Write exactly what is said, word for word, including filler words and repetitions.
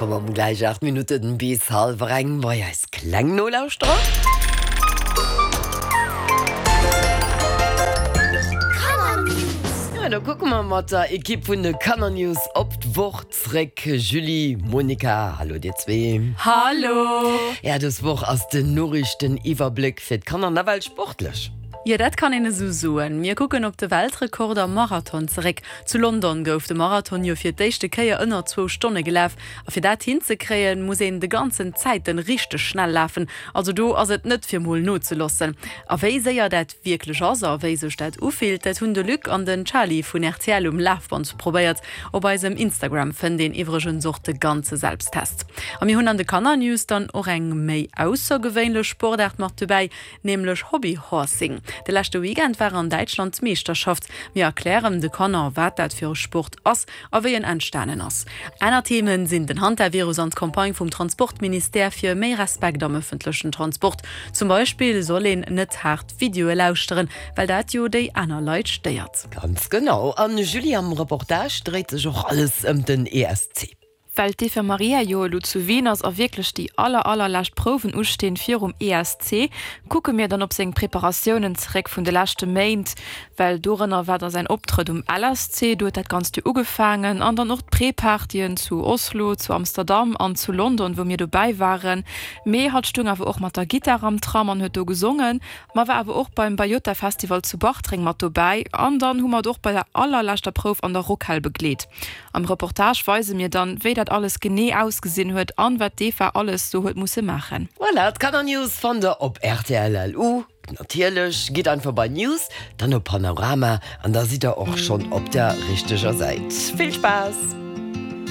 Komme mer gläich aacht Minutten bis hallwer eng bei eis kleng Nolauschterer. Ja, da kucke mer mat der Ekipp vun de Kannernews op d'Woch zréck. Julie, Monica, hallo dir zwee. Hallo! Ja, dës Woch ass den Noriichteniwwerbléck fir d'Kanner nawell sportlech. Jo, dat kann een esou soen. Mir kucken op de Weltrekord am Marathon zeréck. Zu London gouf de Marathon jo fir d'éischte Kéier ënner zwou Stonne gelaf. A fir dat hinzekréien, muss een de ganzen Zäiten richteg schnell lafen. Also do ass et net fir mol nozeloossen. A wéi séier dat wierklech ass a wéi sech dat ufillt, dat hunn de Luc an den Charly vun rtl um Lafband probéiert. Op eisem Instagram fënnt een iwwregens och de ganze Selbsttest. A mir hunn an de Kannernews dann och eng méi aussergewéinlech Sportaart mat dobäi, nämlech Hobbyhorsing. De leschte Weekend war an Däitschland d'Meeschterschaft. Mir erklären de Kanner, wat dat fir e Sport ass a wéi en entstanen ass. Aner Themen sinn den Hantavirus an d'Campagne vum Transportministère fir méi Respekt am ëffentlechen Transport. Zum Beispill soll een net haart Videoe lauschteren, well dat jo déi aner Leit stéiert. Ganz genau. An Julie, am Reportage dréit sech och alles ëm den E S C. Well d'Eva Maria jo elo zu Wien ass a wierklech déi aller allerlescht Prouwen ustinn virum E S C, kucke mir dann op seng Preparatiounen zeréck vun de leschte Méint, well dorënner war da säin Optrëtt um L S C, do huet dat Ganzt jo ugefaangen, an dann och d'Pré-Partyen zu Oslo, zu Amsterdam an zu London, wou mir dobäi waren. Mee hatt stung awer och mat der Gittar am Tram an huet do gesongen, ma war awer och beim Bayota Festival zu Bartreng mat dobäi an dann hu mer et och bei der allerleschter Prouf an der Rockhal begleet. Am Reportage weise mir dann, wéi dat alles genee ausgesinn huet an wat d'Eva alles sou huet musse maachen. Voilà, d'Kannernews fannt der op rtl L U. Natierlech, gitt einfach bei News, dann op Panorama an da sidd der och schonn op der richteger Säit. Vill Spaass!